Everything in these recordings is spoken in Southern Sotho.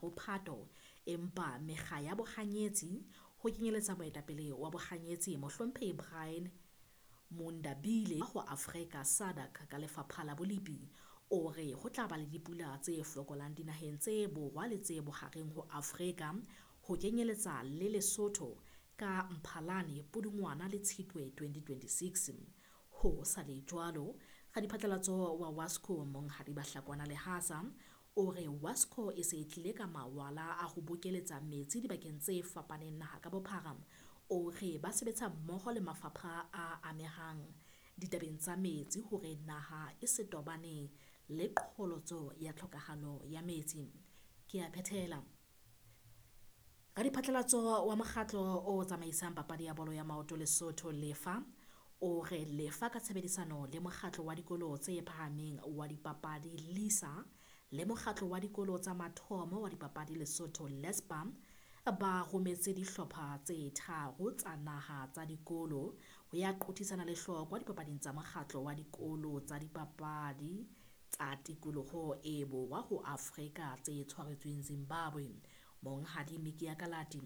ho Phato, empa mekga ya bohanyetsi, ho kenyeletsa moetapele wa bohanyetsi Mohlomphehi Brian Mundabile ho Afrika SADC ka Lefapha la Bolepi, o re ho tla ba le dipula tse fokolang dinaheng tse borwa le tse bohareng ho Afrika, ho kenyeletsa le Lesotho ka Mphalane, Pudungwana le Tshitwe 2026. Ho sa le jwalo, radiphatlalatso wa WASCO Monghadi Bahlakwana Lehasa o re WASCO e se e tlile ka mawala a ho bokeletsa metsi dibakeng tse fapaneng naha ka bophara. O re ba sebetsa mmoho le mafapha a amehang ditabeng tsa metsi hore naha e se tobane le qholotso ya tlhokahalo ya metsi. Ke a phethela. Radiphatlalatso wa mokgatlo o tsamaisang papadi ya bolo ya maoto Lesotho Lefa o re Lefa ka tshebedisano le mokgatlo wa dikolo tse phahameng wa dipapadi LISA le mokgatlo wa dikolo tsa mathomo wa dipapadi Lesotho LESPA ba rometse dihlopha tse tharo tsa naha tsa dikolo ho ya qothisana lehlokwa dipapading tsa mokgatlo wa dikolo tsa dipapadi tsa tikoloho e borwa ho Afrika tse tshwaretsweng Zimbabwe. Monghadi Mikia Kalati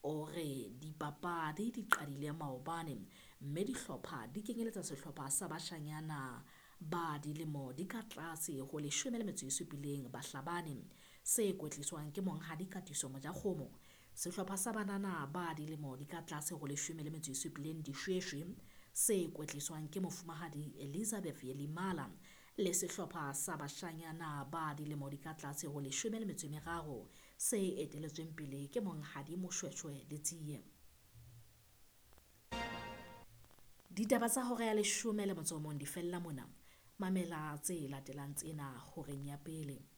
o re dipapadi di qadile maobane mme dihlopha di kenyeletsa sehlopha sa bashanyana ba dilemo di ka tlase ho 17 Bahlabane se kwetliswang ke Monghadi Katiso Mojakgomo, sehlopha sa banana ba dilemo di ka tlase ho 17 Dishweshwe se kwetliswang ke Mofumahadi Elizabeth Yelimala le sehlopha sa bashanyana ba dilemo di ka tlase ho 13 se eteletsweng pele ke Monghadi Moshweshwe Letsie. Ditaba tsa hora ya 11 di fella mona. Mamela tse latelang tsena horeng ya pele.